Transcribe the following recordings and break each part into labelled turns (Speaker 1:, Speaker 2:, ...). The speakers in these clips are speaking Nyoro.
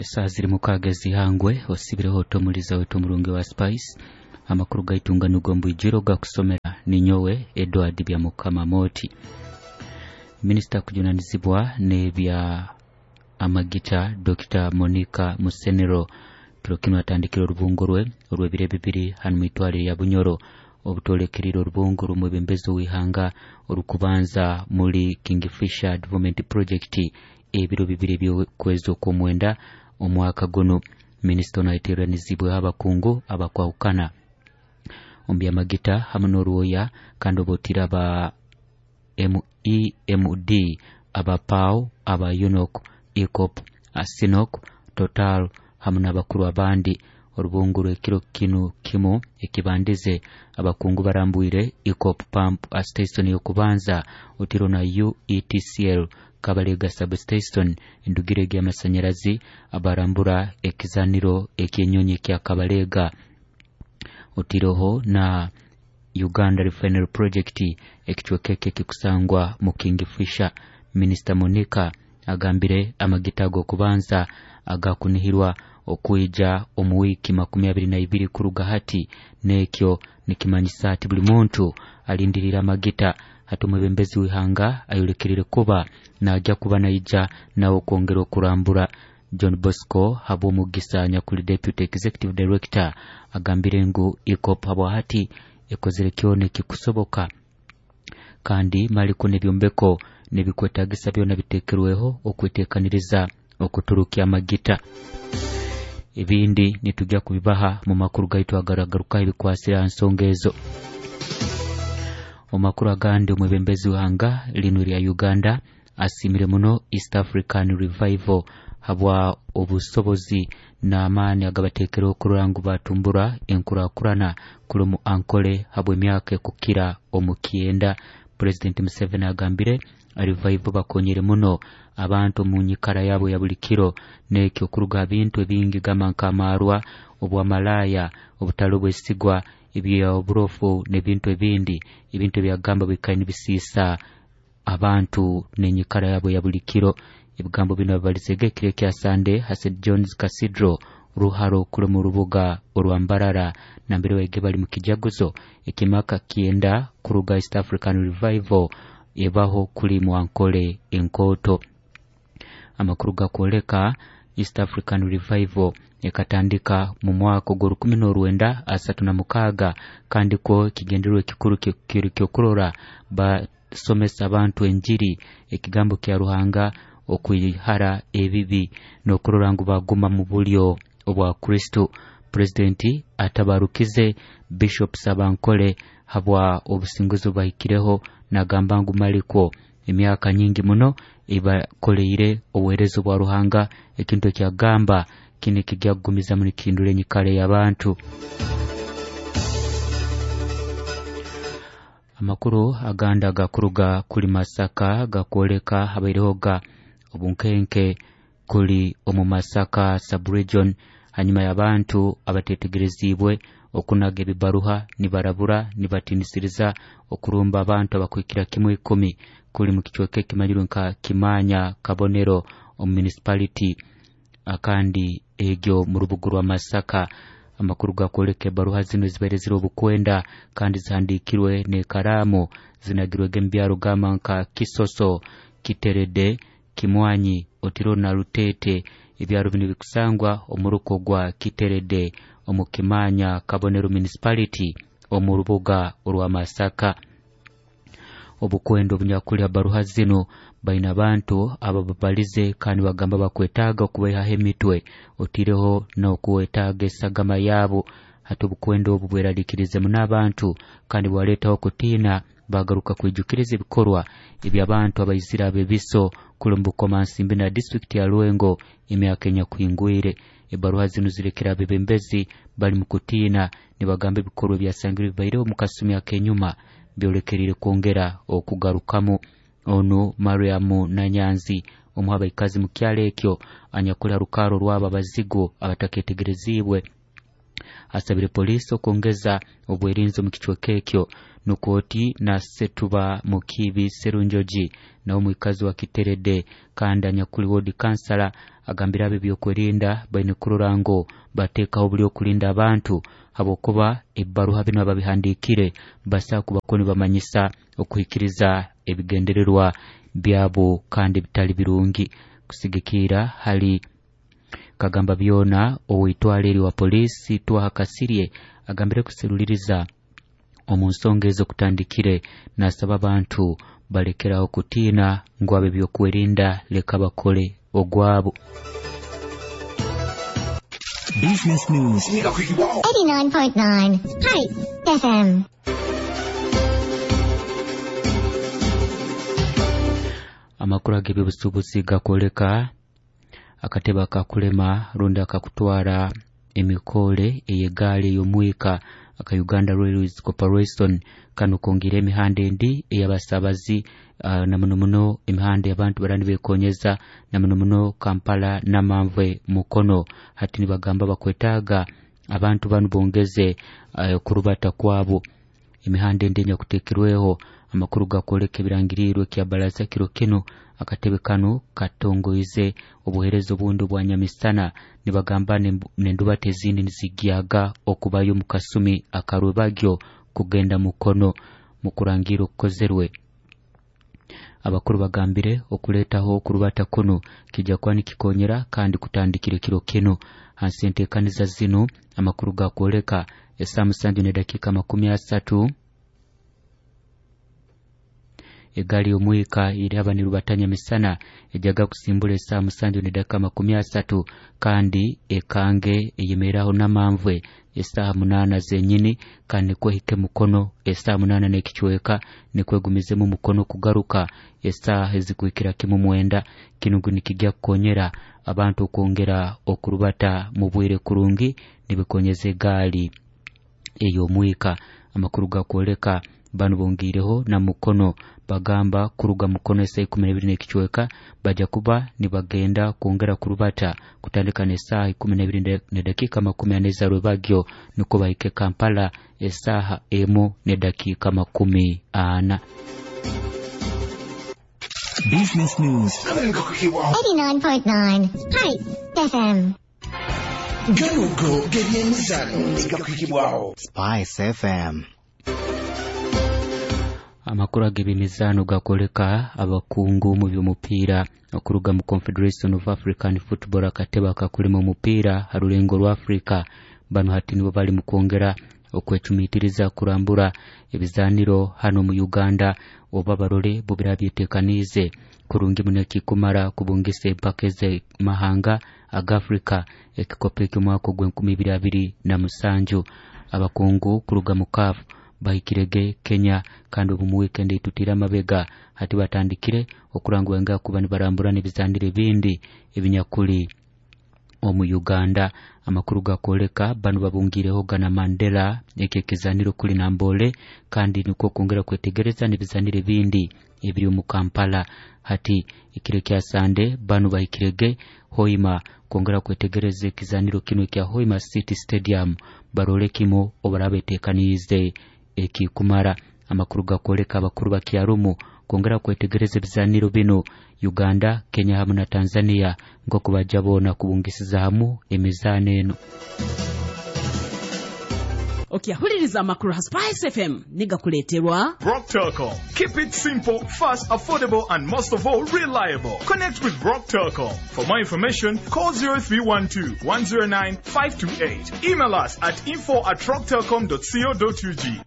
Speaker 1: Esaha ziri mukaaga ezihangwe osibireho otomuliza wetu omurungi wa Spice. Amakuru gaitunga nugo mbwijiro gakusomera ninyowe Edward Byamukama Moti. Minisita kujunanizibwa n'ebya amagita Dr. Monica Musenero kiro kinu atandikire orubungo rwe orw'ebiro bibiri hanu mwitwale lya Bunyoro obutolekerire orubungo rumwebembezi w'ihanga orukubanza muri Kingfisher Development Project ebiro bibiri eby'okwezi okw'omwenda omwaka guno. Minisita ono ayeteranizibweho abakungu abakwahukana omu byamagita hamu n'orwoya kandi obotire aba MEMD, aba PAO, aba UNOC, EACOP, ASINOC, Total hamu n'abakuru abandi. Orubungo rw'ekiro kinu kimu ekibandize abakungu barambwire EACOP Pump Station y'okubanza otiro na UETCL Kabalega Substation endugire y'amasanyarazi abarambura ekizaniro eky'enyonyi kya Kabalega otiroho na Uganda Refinery Project ekicweka eki ekikusangwa mu Kingfisher. Minisita Monica agambire amagita ag'okubanza agakunihirwa okwija omu wiiki 22 kuruga hati, n'ekyo nikimanyisa ati buli muntu alindirira amagita. Hati omwebembezi w'ihanga ayolekerire kuba najya kuba naija nawe okwongera okurambura. John Bosco Habwomugisa nyakuli Deputy Executive Director agambire ngu EACOP habwa hati ekozere kyona ekikusoboka kandi maliko n'ebyombeko n'ebikwetagisa byona bitekerweho okwetekaniriza okuturukya amagita. Ebindi nitujja kubibaha mu makuru gaitu agaragaruka ebikwasira ha nsonga ezo. Omu makuru agandi, omwebembezi w'ihanga linu lya Uganda asimire muno East African Revival habwa obusobozi n'amaani agabateekereho okurora ngu batumbura enkurakurana kuli mu Ankole habw'emyaka ekukira omu 90. President Museveni agambire Revival bakonyere muno abantu omu nyikara yabo ya buli kiro n'ekyo kuruga ha bintu ebingi gamba nk'amaarwa, obwamalaaya, obutali obwesigwa, ebyoburofu n'ebintu ebindi, ebintu ebyagamba bikaire nibisiisa abantu n'enyikara yabo ya buli kiro. Ebigambo bino babalizege ekiro ekya Sande ha St John's Cathedral Ruharo kuli mu rubuga orwa Mbarara nambere baige bali mu kijaguzo ekimaka 90 kuruga East African Revival ebaho kuli mu Ankole enkoto. Amakuru gakwoleka East African Revival ekatandika mu mwaka ogwo 1936 kandi ko ekigendererwa ekikuru kiri kyokurora basomesa abantu enjiri ekigambo kya Ruhanga okwihara ebibi n'okurora ngu baguma mu bulyo obwa Kristo. Presidenti atabarukize Bishop Sabankole habwa obusinguzi obubahikireho nagamba ngu malikwo emyaka nyingi muno ebakoleire obuheereza bwa Ruhanga, ekintu ekyagamba kini kijja kugumizamu nikihindura enyikara y'abantu. Amakuru agandi agakuruga kuli Masaka gakwoleka habairehoga obunkenke kuli omu Masaka sub-region hanyuma y'abantu abatetegerezibwe okunaga ebibaruha nibarabura nibatinisiriza okurumba abantu abakuhikira kimwe 10 kuli mu kicweka ekimanyirwe nka Kimanya Kabonero omu municipality akandi egyo mu rubuga rwa Masaka. Amakuru gakwoleka ebaruha zino zibaire ziri obukwenda kandi zihandikirwe n'ekaraamu zinagirwege mu byaro gamba nka Kisoso, Kiterede, Kimwanyi, Otiro na Rutete. Ebyaro bino bikusangwa omu ruko gwa Kiterede omu Kimanya Kabonero Municipality omu rubuga orwa Masaka. Obukwenda obunyakuli baruha zino baina abantu abababalize kandi bagamba bakwetaaga okubaihaho emitwe otireho n'okwetaaga esagama yabo. Hati obukwenda obu bweraliikirize muno abantu kandi bwaleetaho okutiina, bagaruka kwijukiriza ebikorwa eby'abantu abaizire abebiso kuli mu Bukomansimbi na disitulikiti ya Lwengo emyaka enyakuhingwire. Ebaruha zino zirekera abebembezi bali mu kutiina nibagamba ebikorwa ebyasangirwe bibaireho mu kasumi ak'enyuma byolekerire kwongera okugarukamu. Onu Mariamu Nanyanzi omu abaikazi mu kyalo ekyo anyakuli ha rukaaro rwabo abazigu abataketegerezibwe Asabire poliisi okwongeza obwerinzi omu kicweka ekyo. Nukwoti na Setuba Mukibi Serunjoji nawe omwikazi wa Kiterede kandi anyakuli ward kansala agambira abe byokwerinda baine kurora ngo bateekaho buli okulinda abantu habwokuba ebbaruha binu ababihandiikire basaa kubako nibamanyisa okuhikiriza ebigendererwa byabo kandi bitali birungi. Kusigikira hali Kagamba byona oweitwale eri wa polisi Twaha Kasirye agambire kuseruliriza omu nsonga ezo kutandikire, nasaba abantu balekeraho kutiina ngu abe byokwerinda leka bakole ogwabo.
Speaker 2: Business News
Speaker 3: 89.9 Spice FM.
Speaker 1: Amakuru ag'ebyobusuubuzi gakwoleka akatebe akakulema rundi akakutwara emikole ey'egaali ey'omwika aka Uganda Railways Corporation kano kongera emihanda endi ey'abasabazi na muno muno emihanda abantu barani bekonyeza na muno muno Kampala Namanve Mukono. Hati nibagamba bakwetaaga abantu banu bongeze kurubata kwabo emihanda endi enyakuteekirweho. Amakuru gakwoleka ebirangirirwe kya baraza kiro kinu akatebe kanu katongoize obuheereza obundi obwa nyamisana nibagamba nendubata ezindi nizigyaga okubayo mu kasumi akarwebagyo kugenda Mukono. Mu kurangira okukozerwe abakuru bagambire okuleetaho okurubata kunu kijja kuba nikikonyera kandi kutandikire kiro kinu. Hansi enteekaniza zinu amakuru gakwoleka esaa 7:30 egaali y'omwika iraba nirubatanya misana ejaga kusimbula esaa 7:30 kandi ekange eyemeraho Namanvwe esaha 8 zenyini kandi nikwehike Mukono esaha 8 n'ekicweka nikwegumizemu Mukono kugaruka esaha ezikuhikira kimu 9. Kinu nikijja kukonyera abantu okwongera okurubata mu bwire kurungi nibikonyeza egaali ey'omwika. Amakuru gakwoleka banu bongireho na Mukono bagamba kuruga Mukono esaa 12 n'ekicweka bajja kuba nibagenda kwongera kurubata kutandika n'esaaha 12:40 za rwebagyo niko bahike Kampala esaaha 1:40.
Speaker 2: Business News
Speaker 3: 89.9 Spice FM.
Speaker 4: Ganugo g'ebyemizano negakuhikibwaho
Speaker 5: Spice FM.
Speaker 1: Amakuru ag'ebyemizano gakoleka abakungu mu by'omupiira okuruga mu Confederation of African Football akatebe akakulema omupiira ha rulengo rwa Africa. Bano hati nibo bali mu kwongera okwecumitiriza kurambura ebizaniro hano mu Uganda oba barole bo birabyetekaniize kurungi muno ekikumara kubungisa empaka ez'amahanga aga Africa ekikopo eky'omwaka ogw'2027. Abakungu kuruga mu CAF bahikirege Kenya kandi obu mu weekend etutire amabega hati batandikire okurangwa nga kuba nibarambura n'ebizaniro ebindi ebinyakuli omu Uganda. Amakuru gakwoleka banu babungireho gana Mandela eki ekizaniro kuli Nambole kandi nikwo kwongera kwetegereza n'ebizaniro ebindi ebiri omu Kampala. Hati ekiro kya Sande banu bahikirege Hoima kwongera kwetegereza ekizaniro kinu ekya Hoima City Stadium barole kimo obarabetekaniize ekikumara. Amakuru gakwoleka abakuru bakyarumu kwongera kwetegereza ebizaniro bino Uganda, Kenya hamu na Tanzania nk'oku bajja boona kubungisiza hamu emizaano eno.
Speaker 6: Okyahuliriza amakuru ha Spice FM nigakuleeterwa
Speaker 7: Rock Telcom. Keep it simple, fast, affordable, and most of all, reliable. Connect with Rock Telcom. For more information, call 0312 109 528. Email us at info@rocktelcom.co.ug.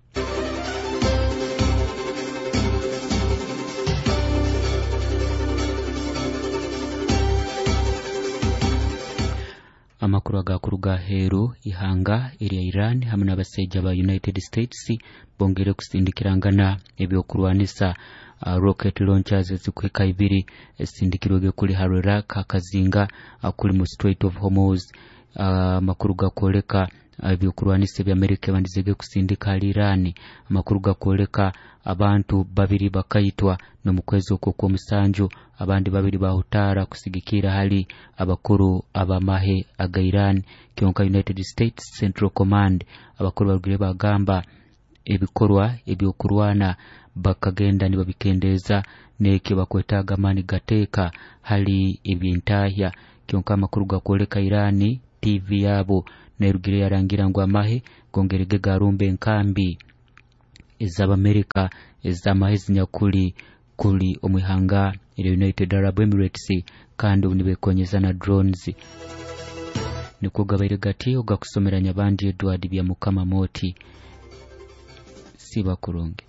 Speaker 1: Amakuru agakuruga aheeru ihanga erya Iran hamwe n'abasaija ba United States bongere kusindikirangana ebyokurwanisa rocket launchers ezikuhika 2 esindikirwege kuli Iraq akazinga kuli mu Strait of Hormuz. Amakuru gakwoleka Ebyokurwanisa eby'Amerika ebandizege kusindika hali Irani. Amakuru gakwoleka abantu 2 bakaitwa n'omukwezi okwo kw'omusanju, abandi 2 bahutaara kusigikira hali abakuru abamahe aga Iran. Kyonka United States Central Command abakuru barugire bagamba ebikorwa ebyokurwana bakagenda nibabikendeeza n'ekyo bakwetaaga amaani gateeka hali ebyentahya. Kyonka amakuru gakwoleka Irani TV yabo nerugire yarangira ngu amahe gongerege garumba enkambi ez'Abamerika ez'amahe zinyakuli kuli omwihanga erya United Arab Emirates, kandi obu nibekonyeza na drones. Nikwo gabaire gati ogakusomera Nyabandi Edward bya Mukama Moti. Siba kurungi.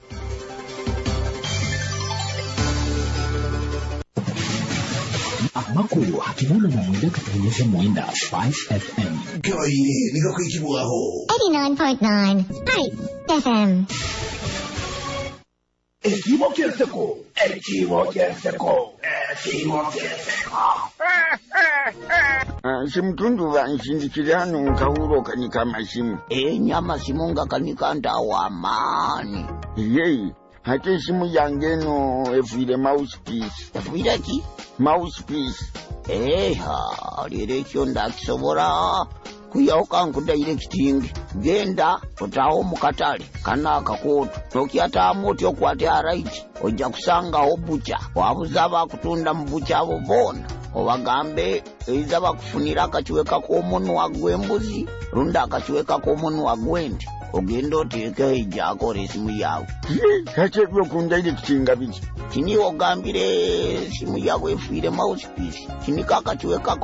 Speaker 2: Amakuru hakimuna na mwenda katuonyesha mwenda Spice FM.
Speaker 4: Gabaire nigakwikibwaho
Speaker 3: 89.9 Spice FM.
Speaker 4: Ekibo ky'enseko, ekibo ky'enseko, ekibo ky'enseko.
Speaker 5: Simutundu banshindikire hano nkahuro kanika amasimu.
Speaker 8: Enyamasimu nga kanika ntawa amaani.
Speaker 5: Yeyi, hati esimu yange eno efiire mouthpiece.
Speaker 8: Efiire ki?
Speaker 5: Mouthpiece.
Speaker 8: Eha, leero ekyo ndakisobola kuyawo kankudirecting. Genda otaawo mu katale kano akakooto tokyataamu otya okwate right, ojja kusangawo bucha wabuza abakutunda mu bucha abo boona obagambe eiza bakufunira akakiweka k'omunwa gw'embuzi rundi akakiweka k'omunwa gw'ente, ogenda oteekeho ejjakora esimu yawe.
Speaker 5: Hati ebyokundirectinga biki?
Speaker 8: Kini ogambire esimu yawe efiire mouthpiece, kinika akakiweka.